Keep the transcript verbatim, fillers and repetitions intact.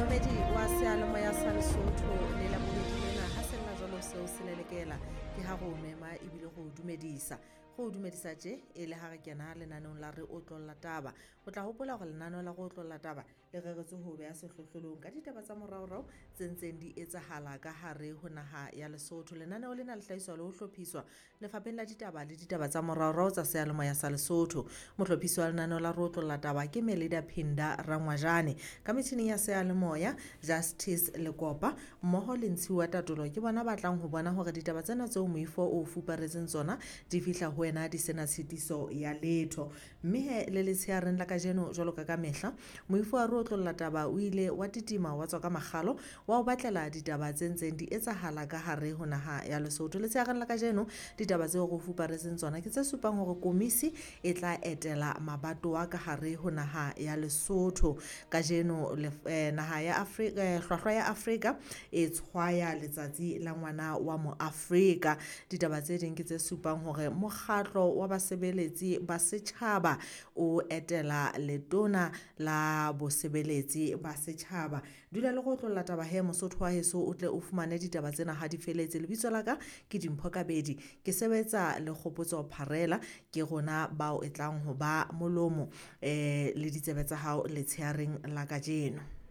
Momamedi wa seyalemoya sa Lesotho le la bobedi lena ha sella jwalo seo se lelekela ke ha re o mema ebile re o dumedisa. Re o dumedisa tje e le ha re kena lenaneong la re otlolla taba. O tla hopola hore lenaneo la re otlolla taba le reretswe ho beha sehlohlolong ka ditaba tsa moraorao tse ntseng di etsahala ka hare ho naha ya Lesotho. Lenaneo lena le hlahiswa le ho hlophiswa Lefapheng la Ditaba le Ditaba tsa Moraorao tsa Seyalemoya sa Lesotho. Mohlophisi wa lenaneo la re otlolla taba ke Melida Phinda Rangwajane. Ka metjhining ya seyalemoya Justice Lekopa mmoho le Ntshiwa Tatolo ke bona ba tlang ho bona hore ditaba tsena tseo moifo o fuparetseng tsona di fihla ho wena di sena tshitiso ya letho. Mme he le letsheareng la kajeno jwalo ka ka mehla moifo wa re otlolla taba o ile wa titima wa tswa ka makgalo wa o batlela ditaba tse ntseng di etsahala ka hare ho naha ya Lesotho. Letsheareng la kajeno ditaba tseo re o fuparetseng tsona ke tse supang hore komisi e tla etela mabatowa ka hare ho naha ya Lesotho. Kajeno eh, naha ya Afrika eh, hlwahlwa ya Afrika e tshwaya letsatsi la ngwana wa moAfrika. Ditaba tse ding ke tse supang hore mokgatlo wa basebeletsi ba setjhaba o etela letona la bosebeletsi ba setjhaba. Dula le go otlolla taba he Mosotho wa heso o tle o fumane ditaba tsena ha di feletse. Lebitso la ka ke Dimpho Kabedi, ke sebetsa le Kgopotso Pharela, ke rona bao e tlang ho ba molomo eh le ditsebe tsa hao letsheareng la kajeno.